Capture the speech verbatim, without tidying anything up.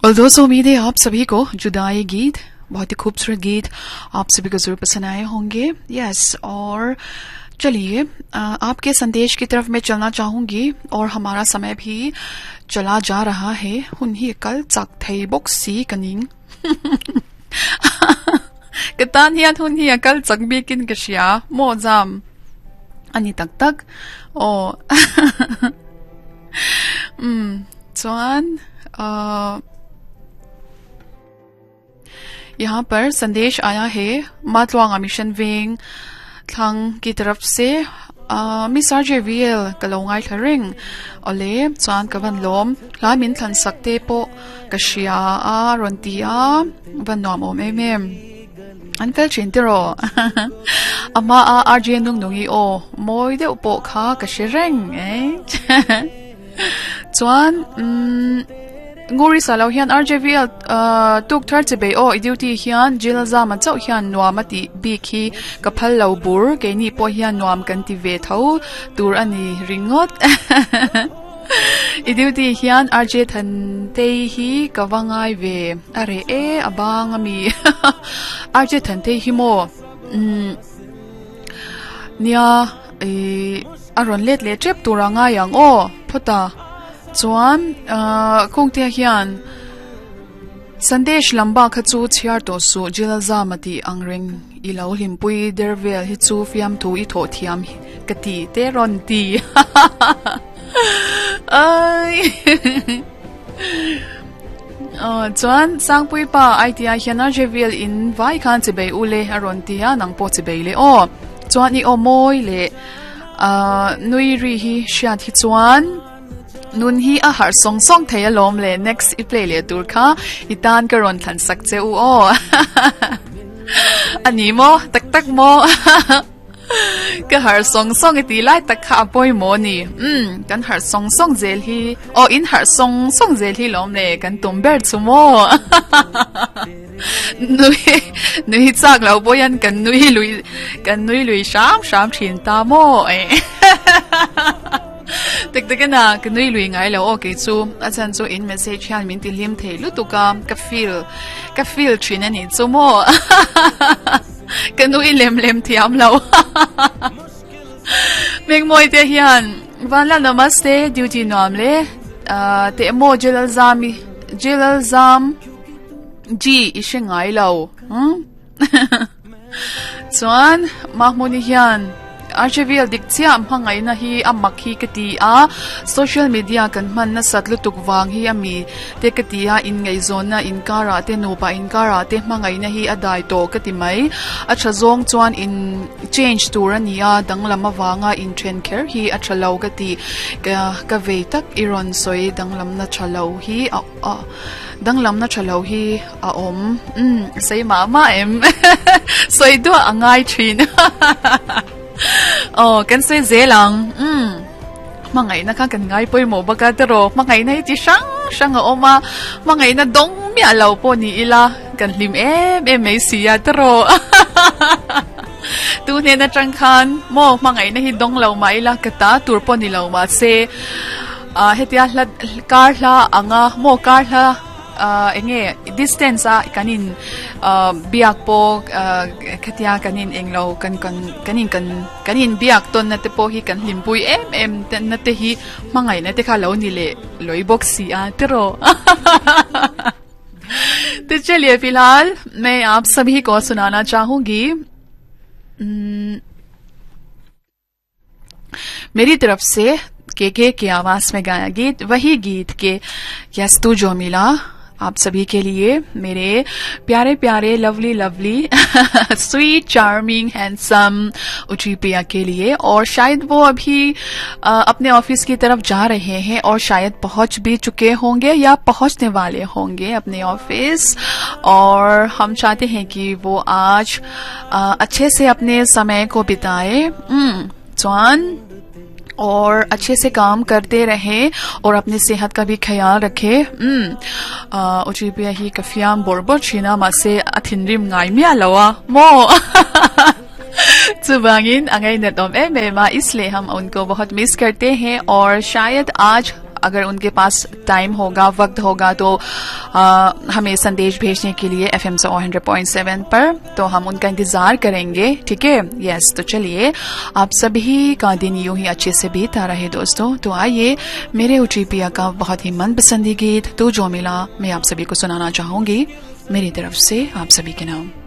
और दोस्तों, उम्मीद है आप सभी को जुदाई गीत, बहुत ही खूबसूरत गीत आप सभी को जरूर पसंद आए होंगे। यस, और चलिए आपके संदेश की तरफ मैं चलना चाहूंगी और हमारा समय भी चला जा रहा है। हुन hi kal chak thei bawk si ka ning ka tan hian hun hi a kal chak bikin ka hria maw jam ani tak tak aw. Um chuan uh यहाँ पर संदेश आया है मातवांगा mission wing thlang ki taraf se Miss R J V L ka lo ngai thla reng ole chuan ka van lawm hlai min thlan sak te pawh ka hria a rawn ti a van nuam awm em em an fel thin tiraw ama a R J nung nungi aw mawi deuh pawh kha ka hre reng e chuan umm Nguri sa lo hian R J V L tuk thar chi bei aw i duty hian jil zama chauh hian nuam a ti bik hi ka phal lo bur keini pawh hian nuam kan ti ve tho tur ani ringawt. I duty hian R J than tei hi ka va ngai ve a reh e a bang ami. R J than tei hi maw umm nia ih a rawn let leh tep tur a ngai ang aw phawt a. Chuan kawngte hian Sandesh lamba kha chu chhiar tawh suh jil zama tih ang reng i lo hlimpui der vel hi chu fiam thu i thawh thiam ka ti te rawn ti. Ai chuan Sangpui pa I T I hian R J V L in vai khan chi bei u le a rawn ti a nang pawh chi bei le aw. Chuan i aw mawi leh nui ri hi hriat hi chuan nun hi a har song song thei a lawm le next i play le tur kha i tan ka rawn thlan sak che u aw. Ani maw tak tak maw ka har song song i ti lai tak kha a pawi maw ni um kan har song song zel hi aw in har song song zel hi lawm le kan tum ber chu maw. Nui nui chak lo pawh hian kan nui lui kan nui lui hram hram thin ta maw e. Tak tak ana ka nui lui ngai lo aw kei chu a chan chu in message hian min ti hlim thei lutuk a ka feel ka feel thin ani chu maw. Ka nui lem lem thiam lo. Mengmawi te hian vanla namaste duty nuam le te emaw Jalal Zami Jalal Zam G i hre ngai lo hm chuan Mahmuni hian R J V L dik chiah hmangaihna hi a mak hi ka ti a social media kan hman nasat lutuk wang hi ami te ka ti a inngaihzawnna inkarah te nupa inkarah te hmangaihna hi a dai tawh ka ti mai a tha zawng chuan in change tur ani a danglam awanga in then kher hi a tha lo ka ti ka ka vei tak i rawn sawi danglam na tha lo hi a a danglam na tha lo hi a awm um sei mah mah em sawi duah a ngai thin. Oh kan sei zel ang um hmangaihna kha kan ngai pawimawh bawk a tiraw hmangaihna hi chi hrang hrang a awm a hmangaihna dawng miah lo pawh ni ila kan hlim em em mai si a tiraw. Tu hnen atang khan maw hmangaihna hi dawng lo mah ila ka ta tur pawh ni lo mah se a hetia hla kar hla anga maw kar hla enge distance a kanin biak pawh khatia kanin englo kan kan kanin kan kanin biak tawn na te pawh hi kan hlimpui em em na te hi hmangaihna te kha lo ni leh loi bawk si a tiraw. तो चलिए फिलहाल मैं आप सभी को सुनाना चाहूंगी मेरी तरफ से के के की आवाज में गाया गीत वही गीत के यस तू जो मिला आप सभी के लिए मेरे प्यारे प्यारे lovely lovely sweet charming handsome उची पिया के लिए। और शायद वो अभी आ, अपने ऑफिस की तरफ जा रहे हैं और शायद पहुंच भी चुके होंगे या पहुंचने वाले होंगे अपने ऑफिस। और हम चाहते हैं कि वो आज आ, अच्छे से अपने समय को बिताए चौहान और अच्छे से काम करते रहे और अपनी सेहत का भी ख्याल रखे। उची पिया ही कफियाम बोरबो छीना मासे अथिनरिम ngai mia lawa mo चुबांगिन अंगाई नतोम ए मेमा, इसलिए हम उनको बहुत मिस करते हैं। और शायद आज अगर उनके पास टाइम होगा, वक्त होगा तो आ, हमें संदेश भेजने के लिए एफ एम सौ hundred point seven पर, तो हम उनका इंतजार करेंगे, ठीक है। यस, तो चलिए आप सभी का दिन यूं ही अच्छे से बीतता रहे दोस्तों। तो आइए मेरे उची पिया का बहुत ही मनपसंदी गीत तू जो मिला मैं आप सभी को सुनाना चाहूंगी, मेरी तरफ से आप सभी के नाम।